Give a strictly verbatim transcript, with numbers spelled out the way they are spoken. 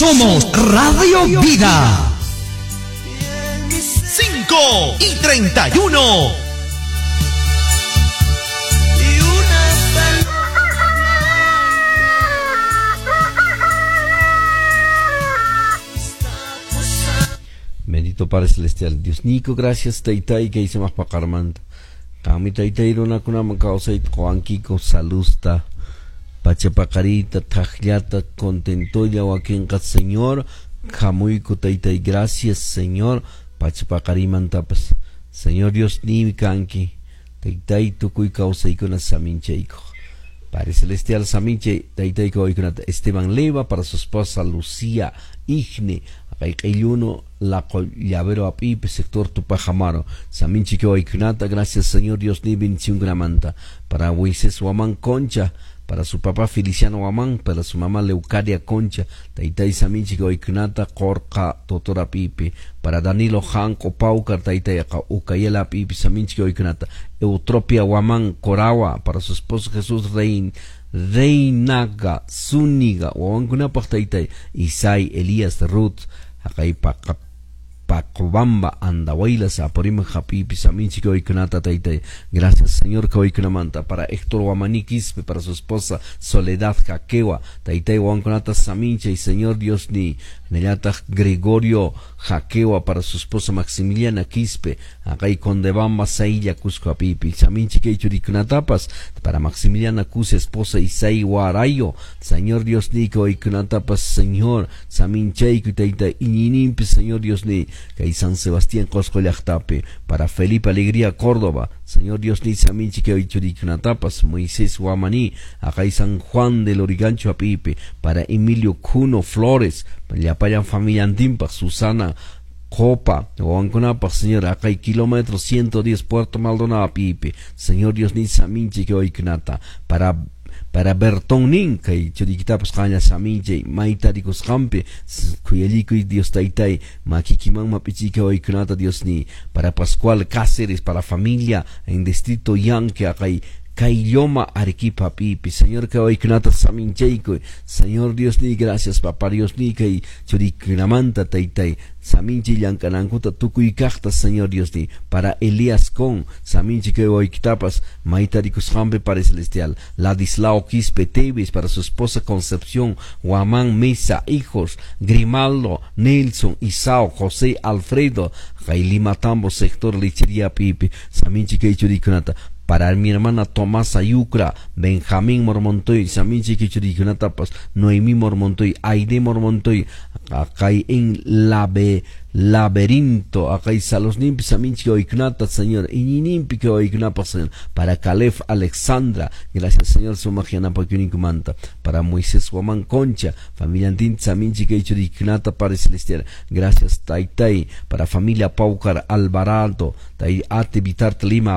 Somos Radio Vida. cinco y treinta y uno. Bendito Padre Celestial, Dios Nico, gracias, Taytay, que hice más pacarmanta. Kami Taytay, runakunaman kawsayta qowankiko, salusta, pachapacarita, tajllata, contentolla, wakinqa, Señor, jamuyku, Taytay, gracias, Señor, pachapaqarimantapas. Señor Dios, ni kanki, Taytay, tukuy kawsaykuna saminchayko. Padre Celestial, saminche, Taytay, kawaykunata, Esteban Leva, para su esposa Lucía Igne, Ayuno, la llavero apipe, sector Tupajamaro, Saminchi Kawaykunata, gracias Señor Dios, ni bendición gramanta, para Moisés Huamán Concha, para su papá Feliciano Huamán, para su mamá Leucadia Concha, Taytay Saminchi Kawaykunata, Corca Totora Pipe, para Danilo Janco Paucar, Taytay Ucayela Pipe, Saminchi Kawaykunata, Eutropia Huamán Corawa, para su esposo Jesús Rein, Reinaga, Zúñiga, Huamankunapaq Taytay, Isai, Elías, Ruth, Akay Pacobamba, Andahuaylas, Apurímac, Japipi, Saminchi, Kawaykunata, Taytay. Gracias, Señor, Kawaykunamanta. Para Héctor Huamaní Quispe, para su esposa Soledad Jaquewa, Taytay Huamankunata, Saminche, y Señor Dios ni Neyata Gregorio Jaquewa, para su esposa Maximiliana Quispe, Akay Condebamba, Sailla, Cusco, Apipi, Saminchi, Keichurikunatapas, para Maximiliana Cuse, esposa Isai Guarayo, Señor Dios ni Kawaykunatapas, Señor, Saminchayku, Taytay, Iñinimpi, Señor Dios ni Kay San Sebastián Cosco Llaqtapi, para Felipe Alegría Córdoba, Señor Dios ni Saminchi Kawaychurikunatapas, Moisés Huamaní, Akay San Juan del Origancho Apipi, para Emilio Cuno Flores, Llapayan familia Antimpa, Susana Copa, Huanconapa, Señor, acá hay kilómetro ciento diez, Puerto Maldonado, Apipi, Señor Dios ni Saminchi Kawaykunata, para para Bertón Ninca y Churiquitapas Caña Saminche, Maitaricos Campe, Cuyelico y Dios Taytay, Maquiquiman Mapichica Oikunata Dios ni, para Pascual Cáceres, para familia en Distrito Yanque, acá hay Kailloma Arequipa Pipi, Señor Kawaykunata Saminchayko, Señor Dios ni, gracias Papá Dios ni, kay Churikunamanta Taytay, Saminchi Llankanankuta Tukuykaqta, Señor Dios ni, para Elías Con, Saminchi Kawaykitapas, Maitarikushambe para Celestial, Ladislao Quispe Teves, para su esposa Concepción, Huamán Mesa, hijos, Grimaldo, Nelson, Isao, José, Alfredo, Jailima Tambo, sector Lechería Pipi, Saminchi Kaychurikunata, para mi hermana Tomasa Yucra, Benjamín Mormontoy, Saminchi Kichurikunatapas, Noemí Mormontoy, Aide Mormontoy, acá en Labe, Laberinto, acá en Salosnimpi, Saminchi Oikunata, Señor, Iñinimpi Oikunapa, Señor, para Calef Alexandra, gracias Señor, Sumajianapa Kunikumanta, para Moisés Huamán Concha, familia Antin, Saminchi Kichurikunata, Padre Celestial, gracias Taytay, para familia Paucar Alvarado, Tai Ate Vitart Lima,